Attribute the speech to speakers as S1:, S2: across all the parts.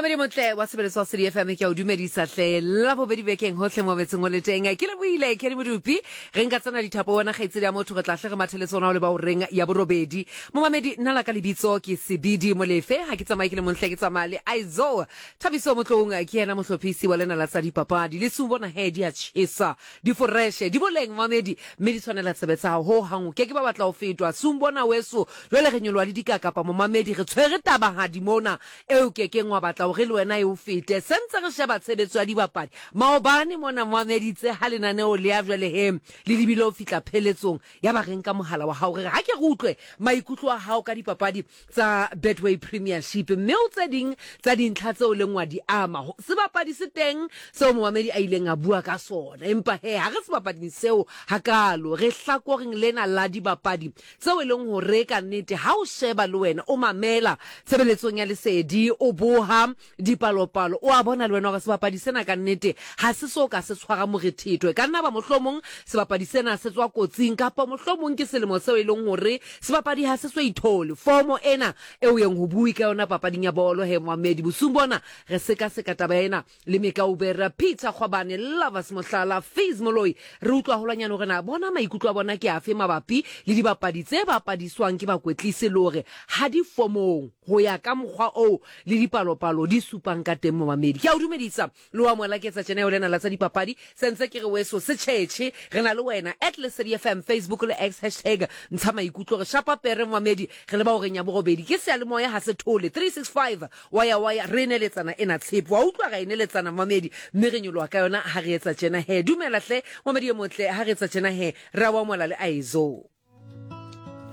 S1: Mamedi motle wa sebeletso wa City FM ke a o dumedisa hle la bobedi bekeng hohle mo metseng o le teng. Ke lebohile Kenny Modupi re nka tsena dithapo wena kgaitsedi ya motho re tla hle re mathele tsona o le ba o reng ya borobedi. Momamedi nna la ka lebitso ke Sebidi Molefe ha ke tsamaye ke le montle ke tsamaya le Aizo Thabiso Motloung ke yena mohlophisi wa lena la tsa dipapadi. Le su bona he di a tjhesa di foreshe di boleng mamedi mme di tshwanela tsebe tsa hao ho hang o ke ke ba batla ho fetwa. Sumbona weso jwale re nyoloha le dikakapa momamedi re tshwere tabahadi mona eo ke keng wa batla hore le wena e o fete. Se ntse re sheba tshebetso ya dibapadi. Maobane mona moameditse ha lenaneo le ya jwale he le lebile ho fihla pheletsong, ya ba re nka mohala wa hao re re ha ke re utlwe maikutlo a hao ka dipapadi tsa Betway Premiership mme o tse ding tsa dintlha tseo leng wa di ama. Sebapadi se teng seo momamedi a ileng a bua ka sona, empa he ha re sebapading seo hakaalo, re hlakoreng lena la dibapadi tseo e leng hore ka nnete ha o sheba le wena o mamela tshebeletsong ya lesedi, o boha dipalopalo, o a bona le wena hore sebapadi sena ka nnete ha se so ka se tshwara morethetho. E ka nna ba mohlomong sebapadi sena se tswa kotsing kapa mohlomong ke selemo seo e leng hore sebapadi ha se so ithole fomo ena eo yeng ho bue ka yona papading ya bolo. He moamedi, bosiung bona re sekaseka taba ena le Mekaubere, Peter Kgwabane, Lovers Mohlala, Fizz Moloi. Re utlwa haholwanyane hore na bona maikutlo a bona ke afe mabapi le dibapadi tse bapadiswang ke bakwetlisi le hore ha di fomong ho ya ka mokgwa oo le dipalopalo di supang ka teng. Momamedi, ke a o dumedisa le o amohela ke etsa tjena eo lena la tsa dipapadi. Se ntse ke re weso se tjhetjhe, re na le wena at Lesedi FM, Facebook le X hashtag ntsha maikutlo. Re shapa pere momamedi, re leba horeng ya borobedi. Ke seyalemoya ha se thole 365 Wa ya wa ya, re neletsana ena tshepo. Wa utlwa, ra e neletsana, momamedi, mme re nyoloha ka yona ha re etsa tjena he. Dumela hle, momamedi e motle, ha re etsa tjena he, re a o amohela le Aizo.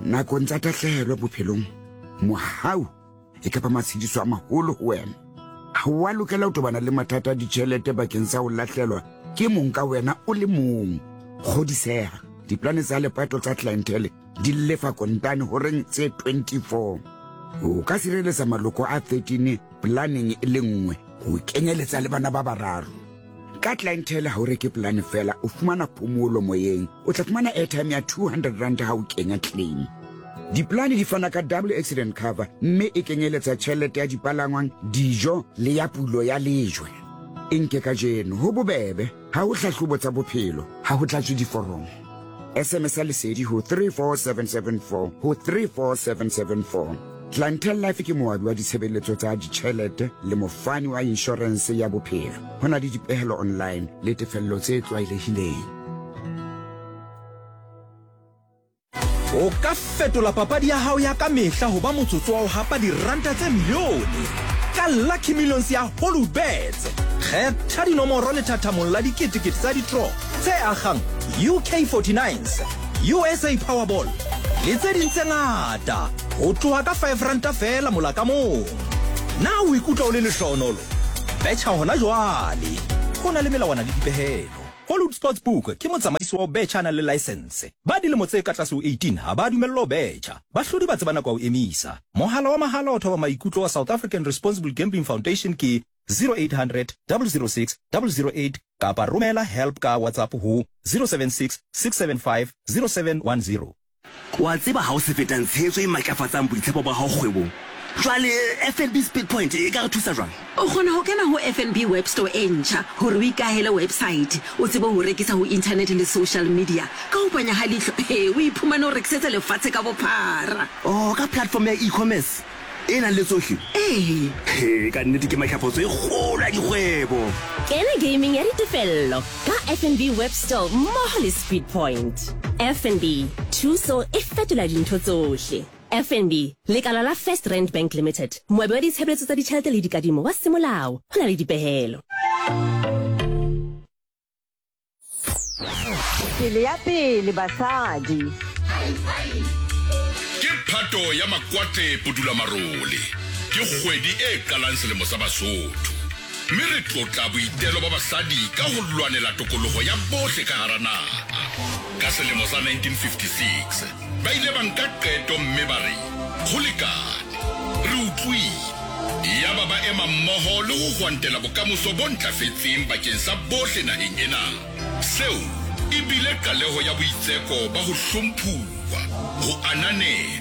S2: Nakong tsa tahlehelo bophelong, mohau e ka ba matshediso a maholo ho wena. Ha o a lokela ho tobana le mathata a ditjhelete bakeng sa ho lahlelwa ke mong ka wena o le mong. Kgodiseha, diplane tsa lepato tsa Clientele di lefa kontane horeng tse 24. O ka sireletsa maloko a 13 planeng e le nngwe, ho kenyeletsa le bana ba bararo. Ka Clientele ha o reke polane fela, o fumana phomolo moyeng. O tla fumana airtime ya 200 rand ha o kenya claim. Diplane di fana ka double accident cover mme e kenyeletsa tjhelete ya dipalangwang, dijo le ya pulo ya lejwe. E nke kajeno, ho bobebe. Ha ho hlahlobo tsa bophelo, ha ho tlatswe diforomo. SMS ya lesedi ho 34774 ho 34774. Clientele Life ke moabi wa ditshebeletso tsa ditjhelete le mofani wa inshorense ya bophelo. Ho na le dipehelo online le tefello tse tlwaelehileng.
S3: O ka fetola papadi ya hao ya ka mehla ho ba motsotso wa ho hapa diranta tse milione ka Lucky Millions ya Hollywoodbets. Kgetha dinomoro lethathamong la diketekete tsa ditro tse akgang UK 49s, USA Powerball le tse ding tse ngata ho tloha ka five ranta feela mola ka mong. Na o ikutlwa o le lehlohonolo? Betjha hona jwale! Ho na le melawana le dipehelo. Hollywood Sportsbook ke motsamaisi wa ho betjha a nang le laesense. Ba dilemo tse ka tlase ho 18 ha ba dumellwa ho betjha. Bahlodi ba tseba nako ya ho emisa. Mohala wa mahala wa thoba maikutlo wa South African Responsible Gambling Foundation ke 0800 006 008 kapa romela help ka WhatsApp ho 076 675 0710.
S4: O a tseba ha o se fetang tshehetso e matlafatsang boitshepo ba hao kgwebong. Jwale FNB Speedpoint e ka re thusa jwang?
S5: O kgona ho kena ho FNB Web Store e ntjha hore o ikahele website, o tsebe ho rekisa ho internet le social media. Ka ho panya ha leihlo, he, o iphumane o rekisetsa lefatshe ka bophara.
S4: Oh, ka platform ya e-commerce e nang le tsohle?
S5: Ee.
S4: He, ka nnete ke matlafatso e kgolo ya dikgwebo.
S6: Kena gaming ya ditefello ka FNB Web Store mmoho le Speedpoint. FNB, thuso e fetola dintho tsohle. FNB, lekala la First Rand Bank Limited, moabi wa ditshebeletso tsa ditjhelete le dikadimo wa semolao, ho na le dipehelo.
S7: Pele ya pele basadi.
S8: Ke Phato ya Makwate Pudulamarole. Ke kgwedi e qalang selemo sa Basotho. Mme re tlotla boitelo ba basadi ka ho lwanela tokoloho ya bohle ka hara naha. Ka selemo sa 1956, ba ile ba nka qeto mme ba re, Ho lekane. Re utlwile. Yaba ba ema mmoho le ho hwantela bokamoso bo ntlafetseng bakeng sa bohle naheng ena. Seo e bile qaleho ya boitseko ba ho hlomphuwa, ho ananelwa.